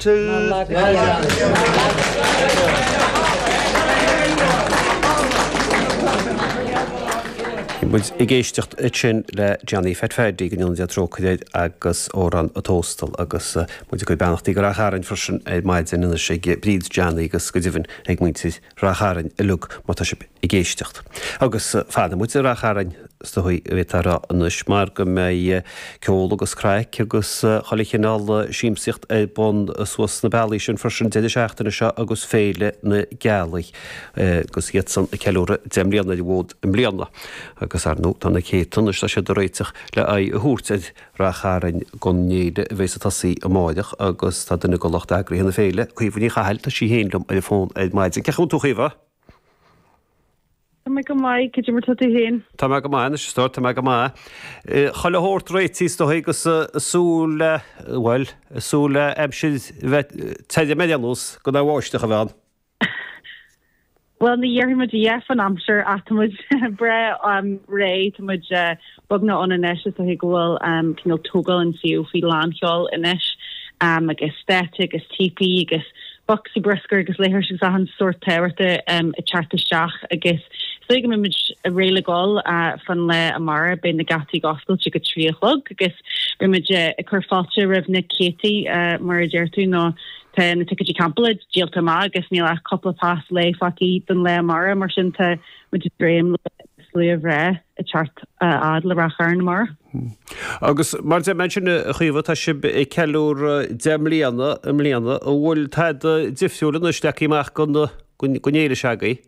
Bhí muid ag éisteacht ansin le Johnny Phat Phaddy, go ndéana Dia trócaire air, agus Amhrán an Tóstail agus muid ag cur beannachtaí go Rath Chairn freisin ar maidin anois ag Bríd Johnny agus go deimhin ag muintir Rath Chairn uilig má tá sibh ag éisteacht. Agus fanfaidh muid i Rath Chairn is dóigh a bhféadfá a rá anois mar go mbeidh ceol agus craic agus chuile chineál siamsaíocht ar bun suas sna bealaí sin freisin deireadh seachtaine seo agus Féile na Gealaí agus iad san ag ceiliúradh 10 mbliana ar an bhfód i mbliana. Agus ar ndóigh tá na céadta anois tá siad ag réiteach le aghaidh a thabhairt ar Rath Chairn don fhéile a bheas ag tosaí amáireach agus tá duine de lucht eagraithe na féile, Caoimhe Ní Chathail, tá sí féin liom ar an bhfón ar maidin. Cén chaoi a bhfuil tú a Chaoimhe? Tá mé go maith, cad é mar tá tú féin? Tá mé go maith anois, a stór, tá mé go maith. Chuile shórt réitithe is dóigh agus ag súil le, bhuel, ag súil le aimsir bheith tirim ar aon nós gan aon bháisteach a bheith ann. Bhuel, ní dhéarfaidh muid a dhath fán aimsir ach tá muid breá réidh, tá muid beagnach ann anois, is dóiche go bhfuil cineál tógáil an tsuíomh faoi lánsheol anois agus stáitse agus teepee agus bocsaí bruscair agus leithris agus achan sórt tábhachta ag teacht isteach agus is dóigh go mbeidh muid réidh le gabháil fán lá amárach, beidh na geataí ag oscailt ag a 3 a chlog agus beidh muid ag cur fáilte roimh na céadtaí mar a deir tú nó Tá na ticéidí campála díolta amach agus níl ach cúpla pas lae fágtha don lá amárach, mar sin tá muid ag dréim le slua bhreá ag teacht a fhad le Rath Chairn amárach. Agus mar a deir mé ansin, a Chaoimhe, tá sibh ag ceiliúradh 10 mbliana i mbliana. An bhfuil tada difriúil anois leagtha amach don fhéile s'agaibh?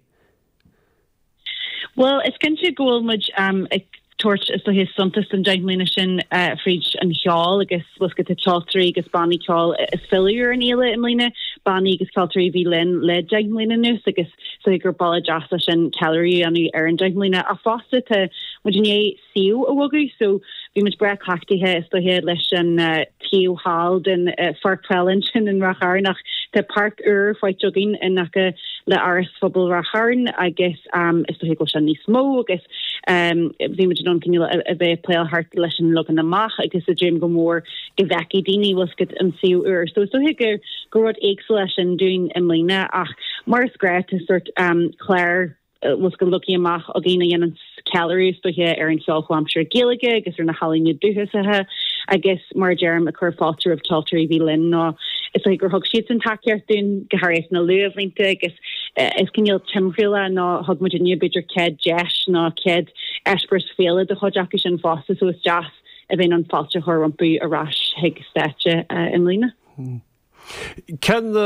Bhuel, is cinnte go bhfuil muid ag tabhairt, is dóiche, suntas don 10 mbliana sin fríd an cheol agus bhfuil a fhios agat tá ceoltóirí agus bannaí ceoil ag filleadh ar an fhéile i mbliana, bannaí agus ceoltóirí a bhí linn le 10 mbliana anuas agus is dóiche gur bealach deas é sin ceiliúradh a dhéanamh ar an 10 mbliana. Ach fosta tá muid i ndiaidh suíomh a bhogadh so bhí muid breá cleachtaithe is dóiche leis an taobh thall den pháirc peile ansin in Ráth Chairn ach tá páirc úr faighte againn in aice le Áras Phobail Ráth Chairn agus is dóiche go bhfuil sé níos mó agus bhí muid in ann cineál a bheith ag pléáil thart leis an leagan amach agus ag dréim go mór go bhfeicfidh daoine bhfuil a fhios agat an suíomh úr. So is dóiche gur gur rud éagsúil é sin dúinn i mbliana ach mar is gnách tá sórt clár bhfuil a fhios agat leagtha amach againn a dhéanann ceiliúradh is dóiche ar an cheol chomhaimseartha Gaeilge agus ar na healaíona dúchasacha agus mar a deirim ag cur fáilte roimh ceoltóirí a bhí linn nó is dóiche gur thug siadsan tacaíocht dúinn go háirithe sna luathbhlianta agus is cineál timthriall é nó thug muid inniu b'fhéidir céad deis nó céad eispéireas féile do chuid acu sin fosta so is deas a bheith in ann fáilte a chur rompu ar ais chuig stáitse i mbliana. Cén.